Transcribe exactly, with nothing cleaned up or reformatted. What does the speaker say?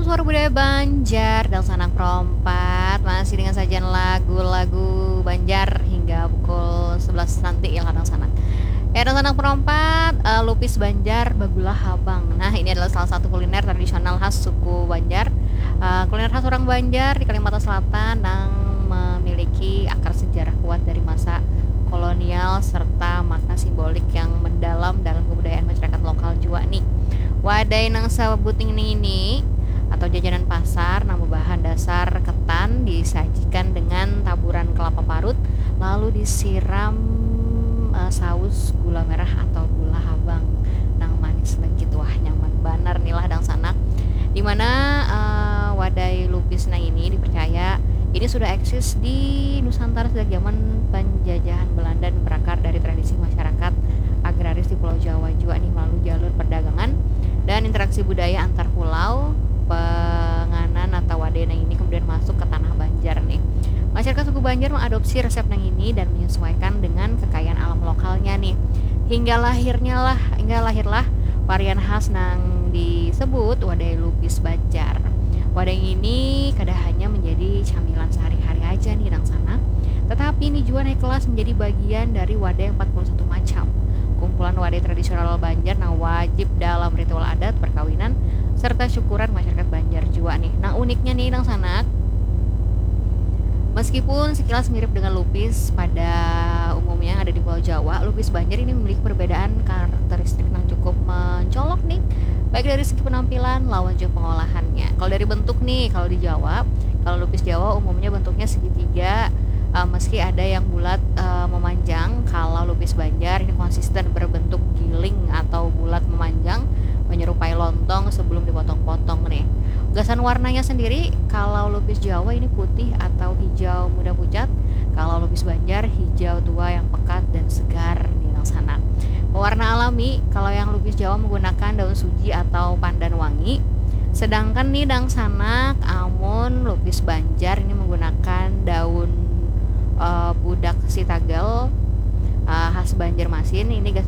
Suara budaya Banjar, dangsanak perompat masih dengan sajian lagu-lagu Banjar hingga pukul sebelas nanti ya lah, dangsanak. Ya, dangsanak perompat, eh, lupis Banjar bagula habang. Nah, ini adalah salah satu kuliner tradisional khas suku Banjar. Eh, kuliner khas orang Banjar di Kalimantan Selatan yang memiliki akar sejarah kuat dari masa kolonial serta makna simbolik yang mendalam dalam kebudayaan masyarakat lokal jua nih. Wadai nang sebut ini, ini atau jajanan pasar nang berbahan dasar ketan disajikan dengan taburan kelapa parut, lalu disiram, eh, saus gula merah atau gula habang nang manis legit. Wah, nyaman banar nih lah, dangsanak. Dimana, eh, wadai lupis nang ini dipercaya ini sudah eksis di Nusantara sejak zaman penjajahan Belanda dan berakar dari tradisi masyarakat agraris di Pulau Jawa jua nih, melalui jalur perdagangan dan interaksi budaya antar pulau. Penganan atau wadai nang ini kemudian masuk ke tanah Banjar nih. Masyarakat suku Banjar mengadopsi resep nang ini dan menyesuaikan dengan kekayaan alam lokalnya nih. Hingga lahirnya lah, hingga lahirlah varian khas nang disebut wadai lupis Banjar. Wadai ini kada hanya menjadi camilan sehari-hari aja nih, dangsanak, tetapi ini jua naik kelas menjadi bagian dari wadai empat puluh satu macam, kumpulan wadai tradisional Banjar nang wajib dalam ritual adat, perkawinan, serta syukuran masyarakat Banjar jua nih. Nang uniknya nih, dangsanak, meskipun sekilas mirip dengan lupis pada umumnya yang ada di Pulau Jawa, lupis Banjar ini memiliki perbedaan karakteristik yang cukup mencolok nih, baik dari segi penampilan lawan juga pengolahannya. Kalau dari bentuk nih, kalau di Jawa, kalau lupis Jawa umumnya bentuknya segitiga, eh, meski ada yang bulat, eh, memanjang. Kalau lupis Banjar ini konsisten berbentuk giling atau bulat memanjang, menyerupai lontong sebelum dipotong-potong nih. Gasan warnanya sendiri, kalau lupis Jawa ini putih atau hijau muda pucat, kalau lupis Banjar hijau tua yang pekat dan segar nih, dangsanak. Pewarna alami, kalau yang lupis Jawa menggunakan daun suji atau pandan wangi, sedangkan nih, dangsanak, amun lupis Banjar ini menggunakan daun, eh, budak sitagal, eh, khas Banjarmasin. Ini gas